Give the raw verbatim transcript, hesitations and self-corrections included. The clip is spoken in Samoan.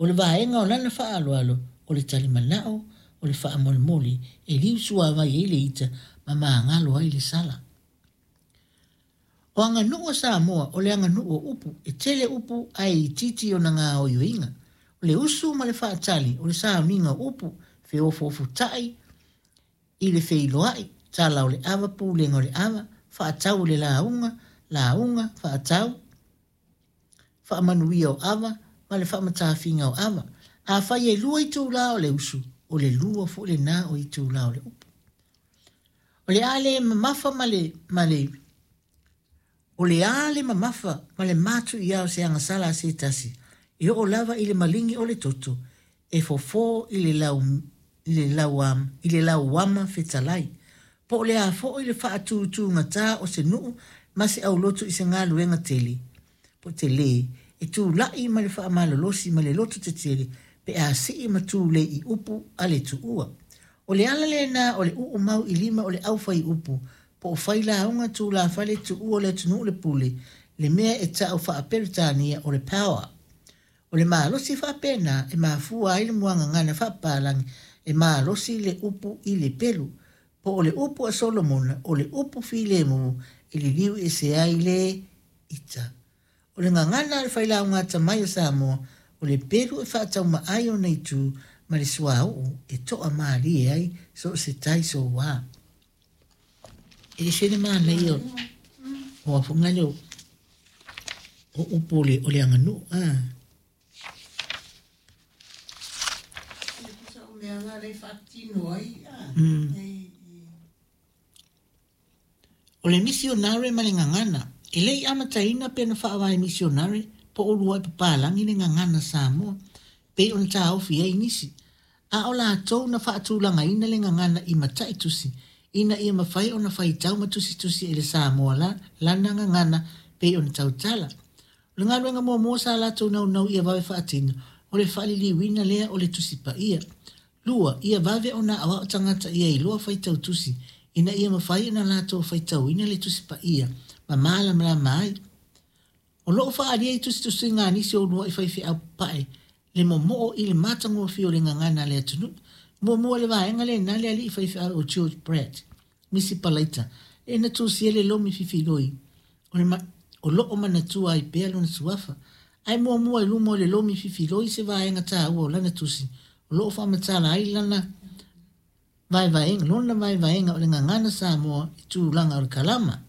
O le vaega o lana faaaloalo, o le talimanao, o le faamolemole, e liu suavai ai le ita ma magalo ai le sala. O aganuu a Samoa, o le aganuu o upu, e tele upu ae itiiti ona gaoioiga. O le usu ma le faatali, o le sauniga o upu, feofoofotai i le feiloai, tala o le ava, pulega o le ava, faatau o le lauga, lauga, faatau, faamanuia o ava, ma le faamatafiga o ava. Afai e lua itulā o le usu, o le lua foi lenā o itulā o le upu. O le a le mamafa ma le, ma le, o le a le mamafa ma le matuia o se agasala a se tasi, e oo lava i le maligi o le toto, e fofo i le lau, i le lauama, i le lauama fetalai. Po o le a foi le faatutugata o se nuu ma se aulotu i se galuega tele, po telē, e tulai ma le faamalolosi ma le loto tetele pe a sii ma tulei i upu a le tuua. O le ala lenā o le uu mau i lima o le aufaiupu po o failauga tulafale tuua o le atunuu le pule, le mea e tau faa-Peretania o le power. O le malosi faapena e mafua ai le muagagana faapapalagi e malosi le upu i le pelu. Po o le upu a Solomona, o le upu filemu e liliu ese ai le ita. O le gagana a le failauga atamai o Samoa, o le pelu e faataumaai ona itu ma le suauu e toamalie ai so o se tai soua. E ese le manaia o afoga lea o upu o le, o le aganuu. Ah. Mm. O le misionare ma le gagana. E le i amataina pe na faavae misionare po o uluai papalagi le gagana Samoa, pei ona taofi ai nisi. A o latou na faatulagaina le gagana i mataitusi, ina ia mafai ona faitau ma tusitusi e le Samoa la, lana gagana pei ona tautala. O le galuega muamua sa latou naunau ia vave faatino, o le faaliliuina lea o le Tusi Paia. Lua, ia vave ona aoao tagata ia iloa faitau tusi, ina ia mafai ona latou faitauina le Tusi Paia ma malamalama ai. O loo faaalia i tusitusiga a nisi o uluai faifeau papae le momoo i le matagofie o le gagana a le atunuu. Muamua le vaega lenā le alii faifeau o George Pratt, Misi Palaita, e na tusia le lomi fifiloi o, le ma, o loo manatua ai pea lona suafa. Ae muamua i luma o le lomi fifiloi se vaega taua o lana tusi, o loo faamatala ai lana vaevaega, lona vaevaega o le gagana Samoa i tulaga o le kalama.